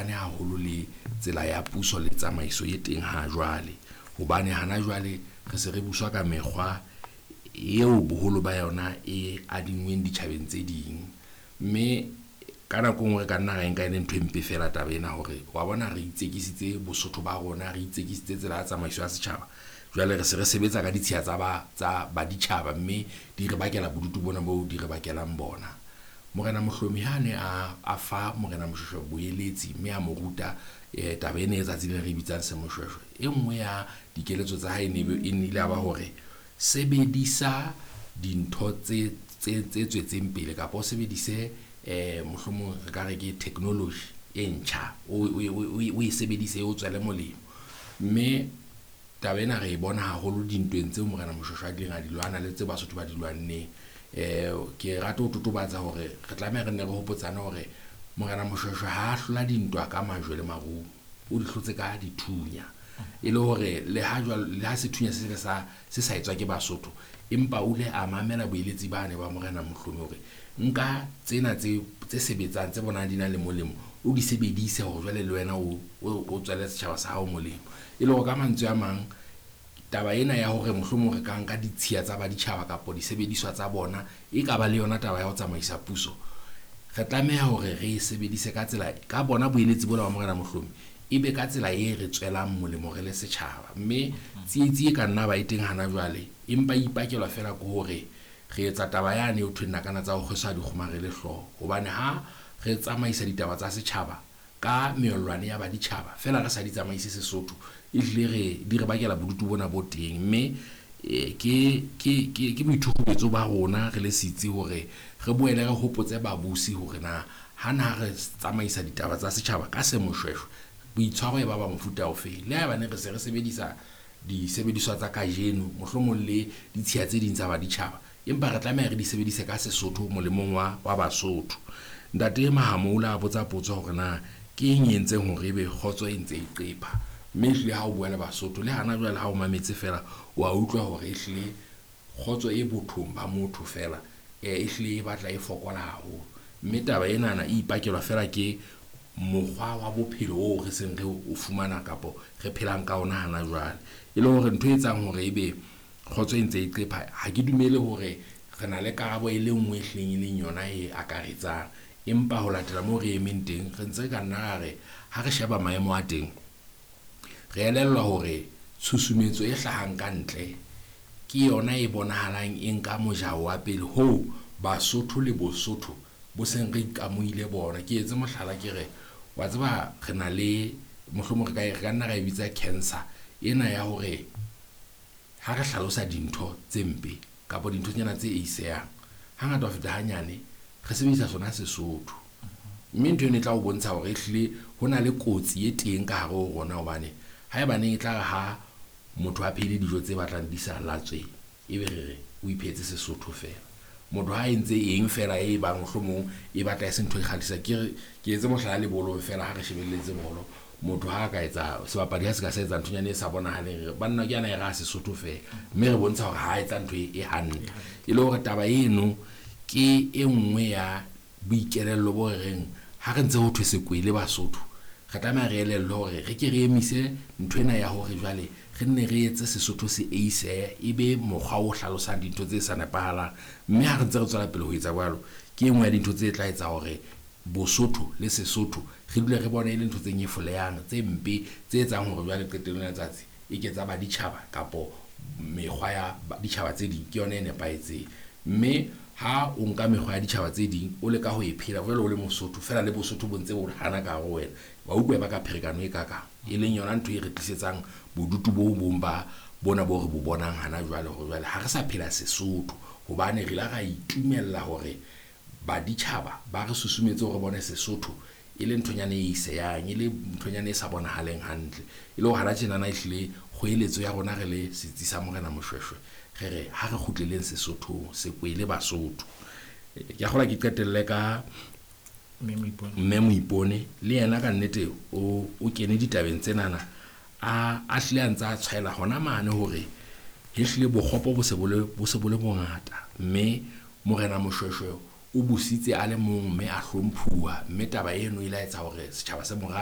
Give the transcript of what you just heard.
fapane haholo le tsela ya puso le tsamaiso e teng ha jwale. Hobane hana jwale re se re buswa ka mekgwa eo boholo ba yona e adingweng ditjhabeng tse ding. Mme ka nako e nngwe re ka nna ra e nka e le ntho e mpe fela taba ena hore wa bona re itsekisitse Bosotho ba rona, re itsekisitse tsela ya tsamaiso ya setjhaba. Jwale re se re sebetsa ka ditshiya tsa ba tsa baditjhaba, mme di re bakela bodutu bona bo di re bakelang bona. Morena Mohlomi ha ne a fa Morena Moshoeshoe boeletsi mme a mo ruta taba ena e tsatsi le re bitsang Semoshweshwe. E nngwe ya dikeletso tsa hae e nnile ya ba hore sebedisa dintho tse tswetseng pele kapa o sebedise mohlomong re ka re ke technology e ntjha, o e sebedise o tswele molemo. Mme taba ena re e bona haholo dintweng tseo Morena Moshoeshoe a kileng a di lwana le tse Basotho ba di lwanneng. Ke rata ho totobatsa hore re tlameha re nne re hopotsane hore Morena Moshoeshoe ha a hlola dintwa ka majwe le marumo, o di hlotse ka dithunya. E le hore le ha jwale le ha sethunya se le sa se sa etswa ke Basotho, empa o ile a mamela boeletsi bane ba Morena Mohlomi hore nka tsena tse sebetsang tse bonang di na le molemo, o di sebedise hore jwale le wena o tswele setjhaba sa hao molemo. E le hore ka mantswe a mang, taba ena ya hore mohlomong re ka nka ditshiya tsa baditjhaba kapa disebediswa tsa bona e ka ba le yona taba ya ho tsamaisa puso, re tlameha hore re e sebedise ka tsela ka bona boeletsi bona ba Morena Mohlomi e be ka tsela e re tswelang molemo re le setjhaba. Mme tsietsi e ka nna ba e teng hana jwale, empa e ipakelwa fela ke hore re etsa taba yane eo thweng nakana tsa ho kgwesa di kgomarele hlooho. Hobane ha re tsamaisa ditaba tsa setjhaba ka meellwane ya baditjhaba fela re sa di tsamaise Sesotho, ehlile re di re bakela bodutu bona bo teng. Mme ke boithukubetso ba rona re le setsi hore re boele re hopotse babusi hore na hana ha re tsamaisa ditaba tsa setjhaba ka Semoshweshwe, boitshwaro e ba ba mofuta ofe. Le haebane re se re sebedisa disebediswa tsa kajeno, mohlomong le ditshiya tse ding tsa baditjhaba, empa re tlameha re di sebedise ka Sesotho molemong wa Basotho. Ntate Mahamola a botsa potso hore na ke eng e entseng hore ebe kgotso e ntse e qepha. Mme ehlile ha o bua le Basotho le hana jwale ha o mametse fela, wa utlwa hore ehlile kgotso e bothong ba motho fela ehlile e batla e fokola haholo. Mme taba enana e ipakelwa fela ke mokgwa wa bophelo oo re seng re o fumana kapo re phelang ka ona hana jwale. E le hore ntho e etsang hore ebe kgotso e ntse e qepha, ha ke dumele hore re na le karabo e le nngwe e hlileng e leng yona e akaretsang. Empa ho latela moo re emeng teng, re ntse re ka nna ra re ha re sheba maemo a teng, re elellwa hore tshusumetso e hlahang ka ntle ke yona e bonahalang e nka mojao wa pele hoo Basotho le Bosotho bo seng re ikamohile bona. Ke etse mohlala ke re, wa tseba re na le mohlomong re ka nna ra e bitsa cancer ena ya hore ha re hlalosa dintho tse mpe kapa dinthonyana tse eisehang, hangata ho feta hanyane re sebedisa sona Sesotho. Mme ntho eno e tla o bontsha hore ehlile ho na le kotsi e teng ka hare ho rona, hobane haebaneng e tla re ha motho a phehile dijo tse batlang di sa latswe, ebe re re o iphehetse Sesotho fela. Motho ha entse eng fela e bang mohlomong e batla e se ntho e kgahlisang. Ke re ke etse mohlala le bolong fela, ha re shebelletse bolo, motho ha ka etsa sebapadi ha se ka se etsa nthonyana e sa bonahaleng, re banna ke yana e ra Sesotho fela, mme re bontsha hore ha etsa ntho e hantle. E le hore taba eno ke e nngwe ya boikelello bo re reng ha re ntse ho thwe sekwele Basotho, re tlameha re elellwe hore re ke re emise ntho ena ya hore jwale re nne re etse Sesotho se eisehe, e be mokgwa o hlalosang dintho tse sa nepahalang. Mme ha re ntse re tswela pele ho etsa jwalo, ke e nngwe ya dintho tse tla etsa hore Bosotho le Sesotho re dule re bone e le ntho tse nyefolehang, tse mpe, tse etsang hore jwale qetellong ya letsatsi e ke tsa baditjhaba kapo mekgwa ya ditjhaba tse ding ke yona e nepahetseng. Mme ha o nka mekgwa ya ditjhaba tse ding o leka ho e phela jwale o le Mosotho fela, le Bosotho bo ntse bo hana ka hare ho wena, wa utlwa e baka pherekano e kakang, e leng yona ntho e re tlisetsang bodutu bo bong ba bona bo re bo bonang hana jwale, hore jwale ha re sa phela Sesotho, hobane re la ra itumella hore baditjhaba ba re susumetse hore bone Sesotho e le nthonyana e iseyang, e le nthonyana e sa bonahaleng hantle. E le hore hana tjenana ehlile kgoeletso ya rona re le setsi sa Morena Moshoeshoe, re re ha re kgutleleng Sesothong, sekwele Basotho. Ke a kgolwa ke qetelle ka Mme Moipone, le yena ka nnete o kene ditabeng tsenana, a hlile a ntse a tshwaela hona mane hore ehlile bokgopo bo se bo le bongata, mme Morena Moshoeshoe o busitse a le mong mme a hlomphuwa, mme taba eno e la etsa hore setjhaba se mo rate.